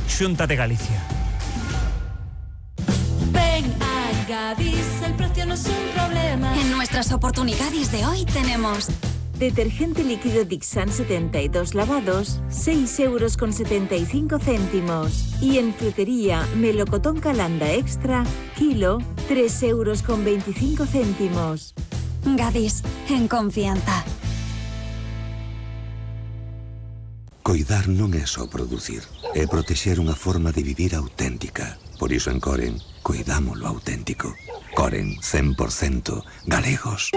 Xunta de Galicia. Ven a Gadis, el precio no es un problema. En nuestras oportunidades de hoy tenemos detergente líquido Dixan 72 lavados, 6,75 €. Y en frutería, melocotón Calanda Extra, kilo, 3,25 €. Gadis, en confianza. Coidar non é só producir, é protexer unha forma de vivir auténtica. Por iso en Coren, coidamos lo auténtico. Coren, 100% galegos.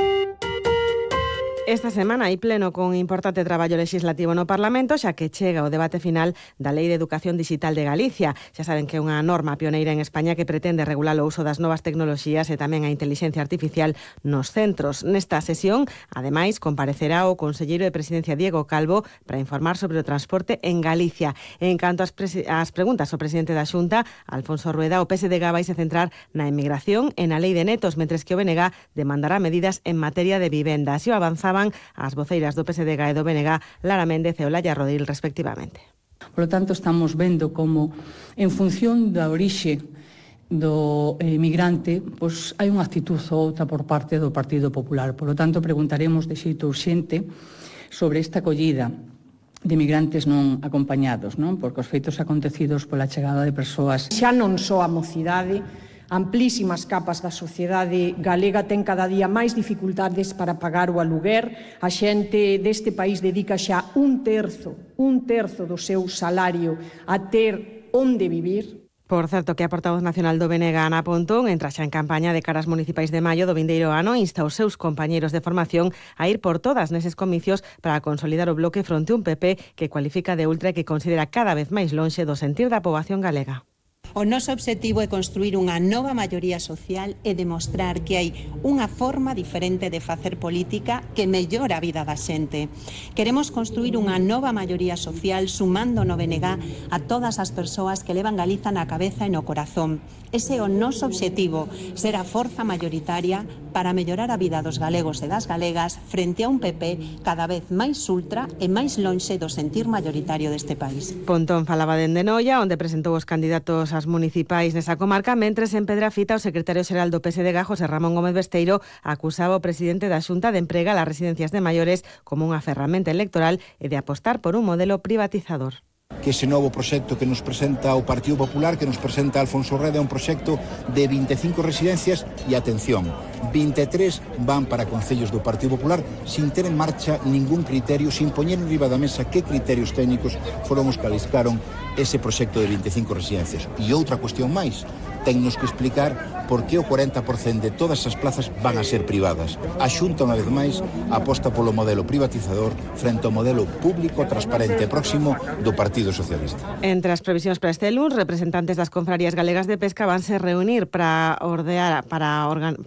Esta semana hai pleno con importante traballo legislativo no Parlamento, xa que chega o debate final da Lei de Educación Digital de Galicia. Xa saben que é unha norma pioneira en España que pretende regular o uso das novas tecnoloxías e tamén a inteligencia artificial nos centros. Nesta sesión, ademais, comparecerá o conselleiro de Presidencia Diego Calvo para informar sobre o transporte en Galicia. En canto ás preguntas ao presidente da Xunta, Alfonso Rueda, o PSDG vai se centrar na emigración e na Lei de Netos, mentres que o BNG demandará medidas en materia de vivenda. Así o avanzaban as voceiras do PSDG e do BNG, Lara Méndez e Olaya Rodil, respectivamente. Por lo tanto, estamos vendo como, en función da orixe do emigrante, pois hai unha actitud ou outra por parte do Partido Popular. Por lo tanto, preguntaremos de xeito urxente sobre esta acollida de migrantes non acompañados, non? Porque os feitos acontecidos pola chegada de persoas xa non só a mocidade, amplísimas capas da sociedade galega ten cada día máis dificultades para pagar o aluguer. A xente deste país dedica xa un terzo do seu salario a ter onde vivir. Por certo, que a portavoz nacional do BNG, Ana Pontón, entra xa en campaña de caras municipais de maio do vindeiro ano, insta os seus compañeiros de formación a ir por todas neses comicios para consolidar o bloque fronte un PP que cualifica de ultra e que considera cada vez máis lonxe do sentir da poboación galega. O noso obxectivo é construir unha nova maioría social e demostrar que hai unha forma diferente de facer política que mellora a vida da xente. Queremos construir unha nova maioría social sumando no BNG a todas as persoas que levan Galiza na cabeza e no corazón. Ese é o noso obxectivo, ser a forza maioritaria para mellorar a vida dos galegos e das galegas frente a un PP cada vez máis ultra e máis lonxe do sentir maioritario deste país. Pontón falaba dende Noia, onde presentou os candidatos ás municipais nesa comarca, mentres en Pedrafita o secretario xeral do PSDG, José Ramón Gómez Besteiro, acusaba o presidente da Xunta de empregar as residencias de maiores como unha ferramenta electoral e de apostar por un modelo privatizador. Que ese novo proxecto que nos presenta o Partido Popular, que nos presenta Alfonso Rueda, é un proxecto de 25 residencias e, atención, 23 van para concellos do Partido Popular sin ter en marcha ningún criterio, sin poñer en riba da mesa que criterios técnicos foron os que aliscaron ese proxecto de 25 residencias. E outra cuestión máis, tennos que explicar por que o 40% de todas as plazas van a ser privadas. A Xunta, unha vez máis, aposta polo modelo privatizador frente ao modelo público, transparente e próximo do Partido Socialista. Entre as previsións para este luns, representantes das confrarías galegas de pesca vanse reunir para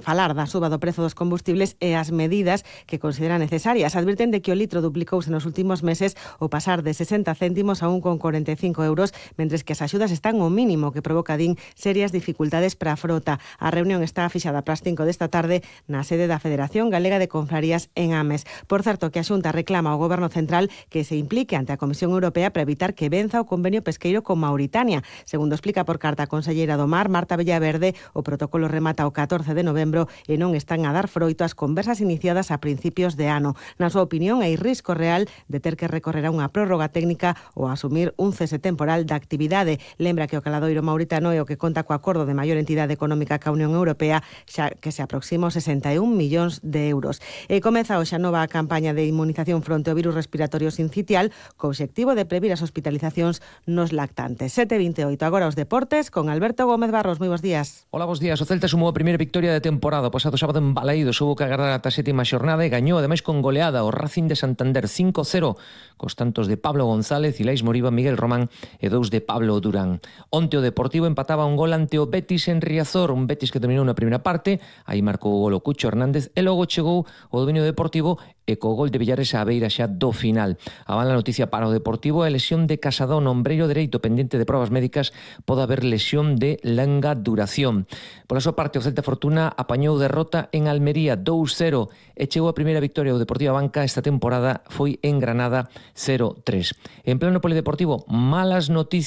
falar da suba do prezo dos combustibles e as medidas que consideran necesarias. Advirten de que o litro duplicouse nos últimos meses ao pasar de 60 céntimos a 1,45 €, mentres que as axudas están ao mínimo, que provoca, din, serias dificultades para a frota. A reunión está fixada para as 5 desta tarde na sede da Federación Galega de Confrarías en Ames. Por certo, que a Xunta reclama ao Goberno Central que se implique ante a Comisión Europea para evitar que venza o convenio pesqueiro con Mauritania. Segundo explica por carta a conselleira do Mar, Marta Villaverde, o protocolo remata o 14 de novembro e non están a dar froito as conversas iniciadas a principios de ano. Na súa opinión, hai risco real de ter que recorrer a unha prórroga técnica ou asumir un cese temporal da actividade. Lembra que o caladoiro mauritano é o que conta co acordo de maior entidade económica ca Unión Europea, xa que se aproxima aos 61 millóns de euros. E comeza hoxe a nova campaña de inmunización fronte ao virus respiratorio sincitial co obxectivo de previr as hospitalizacións nos lactantes. 7:28, agora os deportes con Alberto Gómez Barros. Moi bons días. Hola, bons días. O Celta sumou a primeira victoria da temporada. O pasado sábado en Balaídos houbo que agardar ata a sétima xornada e gañou ademais con goleada o Racing de Santander 5-0 cos tantos de Pablo González, Ilais Moriba, Miguel Román e 2 de Pablo Durán. Onte o Deportivo empataba un gol ante o Betis en Riazor, un Betis que dominou na primeira parte, aí marcou o gol o Cucho Hernández e logo chegou o dominio deportivo e co gol de Villares á beira xa do final. A mala noticia para o Deportivo é a lesión de Casadón, ombreiro dereito pendente de probas médicas, pode haber lesión de longa duración. Pola súa parte, o Celta Fortuna apañou derrota en Almería 2-0 e chegou a primeira victoria do Deportivo Banca esta temporada, foi en Granada 0-3. En pleno polideportivo, malas noticias